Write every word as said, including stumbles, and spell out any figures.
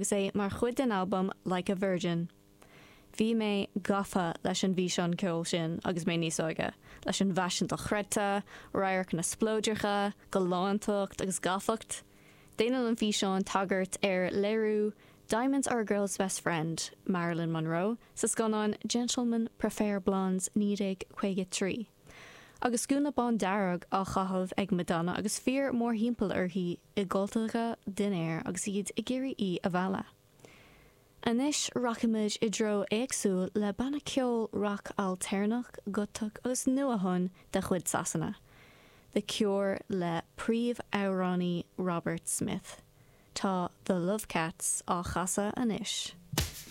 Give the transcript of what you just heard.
Agus é mar chuid den albam Like a Virgin. Bhí mé gafa leis an bhfíseán ceoil sin agus mé níos óige, leis an bhfaisean dochreidte, radharcanna spleodracha, galántacht agus gafacht. Déanann an físeán tagairt ar léiriú Diamonds Are a Girl's Best Friend, Marilyn Monroe, sa scannán Gentlemen Prefer Blondes naoi déag caoga trí. Agus gúna bándearg á chaitheamh ag Madonna agus fir mórthimpeall uirthi i gcultacha dinnéir agus iad ag iarraidh í a mhealladh. Anois rachaimid i dtreo éagsúil le banna ceoil rac ailtéarnach, gotach agus nua-thonn de chuid Sasana, The Cure le príomhamhránaí Robert Smith. Tá The Love Cats á chasadh anois.